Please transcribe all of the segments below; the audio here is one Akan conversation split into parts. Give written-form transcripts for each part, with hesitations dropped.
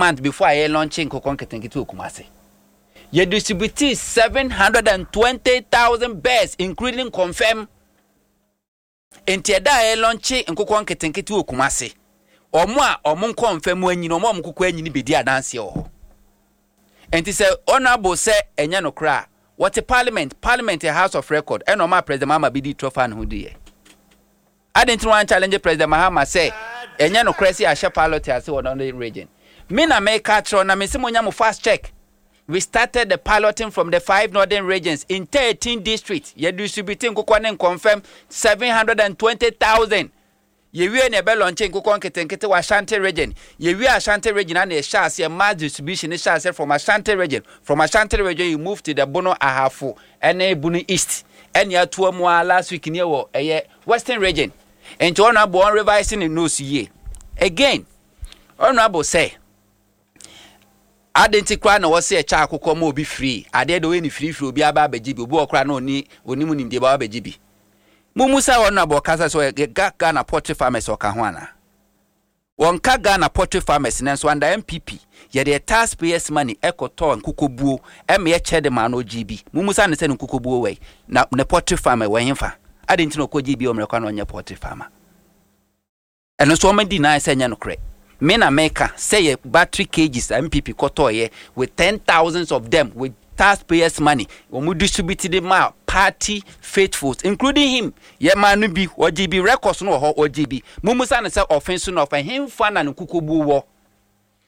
months before a yɛ launch nkokɔ nketenkete wɔ Kumasi. Yɛ distribute 720,000 birds, including confirm. Nti ɛda a yɛ launch nkokɔ nketenkete wɔ Kumasi, wɔn a wɔn nkɔnfɛm anyini, wɔn a wɔn nkokɔ anyini bɛdi adanseɛ wɔ hɔ. Nti sɛ Honourable sɛ ɛnyɛ nokorɛ a, wɔte parliament, parliament yɛ house of record, ɛna ɔmaa President Mahama bɛdii torɔ faa ne ho diiɛ. Adɛn nti na wɔn challenge President Mahama sɛ ɛnyɛ nokorɛ sɛ yɛahyɛ pilot ase wɔ Northern Region? Me na meka akyerɛ wo, na mese monya mo fast check. We started the piloting from the five northern regions in 13 districts. Yɛ distribute nkokɔ ne nkɔmfɛm 720,000. Yɛwie na yɛbɛ launch nkokɔ nketenkete wɔ Ashanti Region. Yɛwie Ashanti Region a na yɛhyɛ aseɛ mass distribution no hyɛ aseɛ from Ashanti Region. From Ashanti Region you move to the Bono Ahafo ɛne Bono East ɛne atoa mu a last week ne wɔ ɛyɛ Western Region. Nti Honourable ɔn revise ne notes yie. Again, Honourable sɛ Adɛn nti koraa na wɔse ɛkyɛ akokɔ ma obi free? Adeɛ deɛ woyɛ no free free obiara ba abɛgye bi, obi wɔ hɔ koraa na ɔnni ɔnnim nimdeɛ ba wabɛgye bi. Mommusa wɔn na wɔkasa sɛ ɔyɛ Ga Ghana poultry farmers ɔka ho anaa? Wɔnka Ghana poultry farmers nanso under NPP yɛde yɛ tax payers money ɛkɔtɔɔ nkokobuo ɛma yɛkyɛ de maa no ɔgyee bi. Mommusa no sɛ ne nkokobuo wɔ he? Na ne poultry farm ɛwɔ hefa? Adɛn nti na ɔkɔgyee bi wɔ mmerɛ kwan na ɔnyɛ poultry farmer? Ɛno nso wɔn deny sɛ ɛnyɛ nokorɛ. Me na meka sɛ yɛ battery cages a NPP kɔtɔɔyɛ with ten thousands of them with tax payers money wɔn distribute de maa party faithfuls including him, yɛ maa no bi, ɔgyee bi, records no wɔ hɔ, ɔgyee bi. Mommusa no sɛ ɔfe so na ɔfa henfa na ne nkukuobuo wɔ?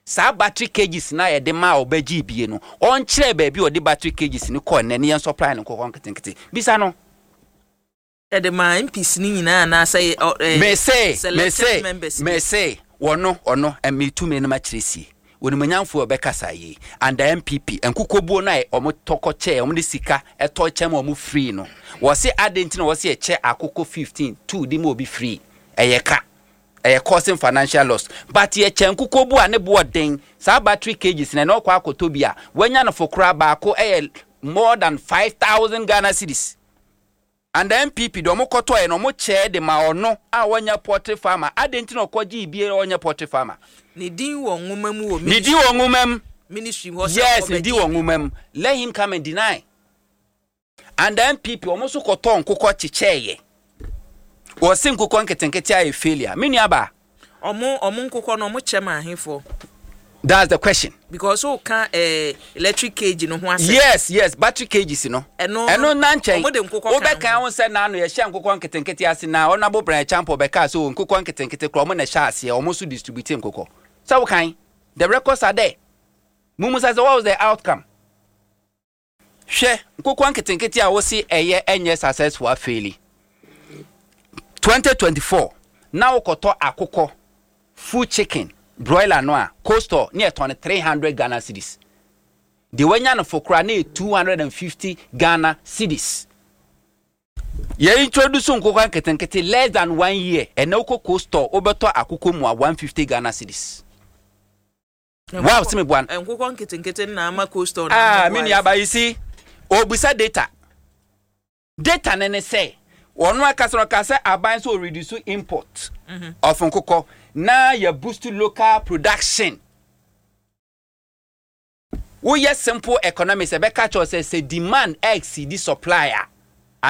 Saa battery cages no a yɛde maa ɔbɛgyee bie no, ɔnkyerɛ baabi a ɔde battery cages no kɔɔ nnɛ ne yɛn supply no nkokɔ nketenkete. Bisa no. Yɛde maa MPs no nyinaa anaasɛ ɛ ɛ Mese, selected mese, members bi. mese, wɔno, ɔno, ɛ, metu me nom akyerɛ sie. Onimuonyamfoɔ a ɔbɛkasa yei, under NPP, nkukuobuo no a wɔn tɔ kɔ kyɛɛ, wɔn de sika tɔ kyɛ ma wɔn free no, wɔse adɛn nti na wɔse yɛkyɛ akokɔ 15, two de ma obi free? Ɛyɛ ka. Ɛyɛ causing financial loss. But yɛkyɛ nkukuobuo a ne boɔ den, saa battery cages no, ɛnɛ wokɔ akɔtɔ bi a, wanya no fo koraa baako yɛ more than 5,000 Ghana cedis. And the NPP deɛ ɔmo kɔtɔɛ no ɔmo kyɛɛ de ma ɔno a ɔnyɛ poultry farmer, adɛn nti na ɔkɔ gyee bie a ɔnyɛ poultry farmer? Ne din wɔ nwoma mu wɔ Ne din wɔ nwoma mu. Ministry hɔ sɛ Yes, ne din ɔbɛgye wɔ bi. nwoma mu. Let him come and deny. And the NPP ɔmo nso kɔtɔɔ nkokɔ kyekyɛɛyɛ. Wɔse nkokɔ nketenkete ayɛ failure. Me nua baa. Ɔmo nkokɔ no ɔmo kyɛ ma ahefoɔ? That's the question. Because o ka eh, electric cage no ho asɛm. Yes, battery cages no. Ɛno Ɛno na nkyɛn. ɔmo de nkokɔ ka Wobɛka ho. ho sɛ n'ano yɛhyɛ nkokɔ nketenkete ase na Honourable Brian Acheampong bɛkaa sɛ o nkokɔ nketenkete koraa ɔmo na ɛhyɛ aseɛ, ɔmo nso distribute nkokɔ. Sɛ wokan, the records are there. Mummusa sɛ what was the outcome? Hwɛ, nkokɔ nketenkete a wose ɛyɛ ɛnyɛ successful afeeli. 2024 na wokɔtɔ akokɔ full chicken broiler no a cold store ne yɛtɔn no 300 Ghana cedis. Deɛ wanya no fo koraa na yɛ 250 Ghana cedis. Yɛ introduce nkokɔ nketenkete less than one year, ɛnɛ wokɔ cold store wobɛtɔ akokɔ mu a 150 Ghana cedis. Wow, sɛ meboa no. Nkokɔ nketenkete no na ama cold store no Ah, ama me boa nua ba, you see, obisa data. Data ne ne sɛ, ɔno akasa no ɔka sɛ aban sɛ ɔreduce import of nkokɔ na yɛ boost local production. Woyɛ simple economics ɛbɛka kyerɛ wo sɛ sɛ demand exceed supply a,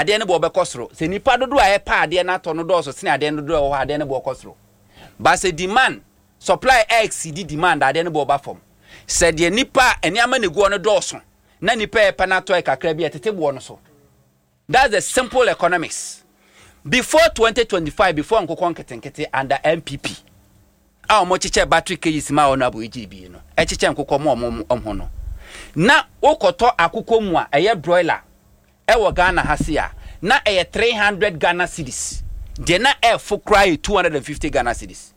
adeɛ no boɔ bɛkɔ soro. Sɛ nipa dodoɔ a ɛpɛ adeɛ no atɔ no dɔɔso sene adeɛ no dodoɔ a ɛwɔ hɔ a, adeɛ no boɔ kɔ soro. But sɛ demand, supply exceed demand a, adeɛ no boɔ ba fam. Sɛ deɛ nipa, nneɛma na egu hɔ no dɔɔso na nipa a ɛpɛ no atɔ yɛ kakra bi a, ɛtete boɔ no so. That's the simple economics. Before 2025, before nkokɔ nketenkete under NPP a wɔn kyekyɛ battery cages ma wɔn abo AGB no, ɛkyekyɛ nkokɔ ma wɔn wɔn ho no. Na wokɔtɔ akokɔ mu a ɛyɛ broiler ɛwɔ Ghana ha se a, na ɛyɛ 300 Ghana cedis. Deɛ na ɛfo koraa yɛ 250 Ghana cedis.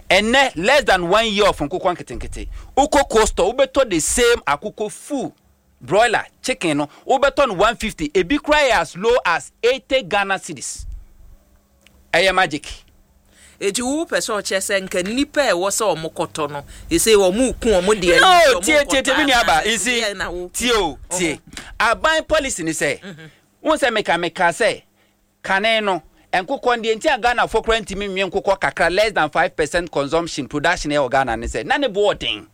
Ɛnɛ less than one year of nkokɔ nketenkete, wokɔ cold store wobɛtɔ the same akokɔ full broiler chicken no wobɛtɔ no 150, ebi koraa yɛ as low as 80 Ghana cedis. Ɛyɛ magic. Eti wo pɛ sɛ ɔkyerɛ sɛ nka nnipa a ɛwɔ sɛ wɔn kɔtɔ no, ɛsɛ wɔn ku wɔn deɛ No, nti wɔn tie tie tie nkɔtɔ me nua ba, anaasɛ you see, deɛ na wo tie o, tie. Aban policy ni sɛ, wohu sɛ meka meka sɛ kane no, nkokɔ no deɛ nti a Ghanafoɔ koraa ntumi nwe nkokɔ kakra less than 5% consumption production ɛwɔ Ghana ne sɛ na ne bo ɔden.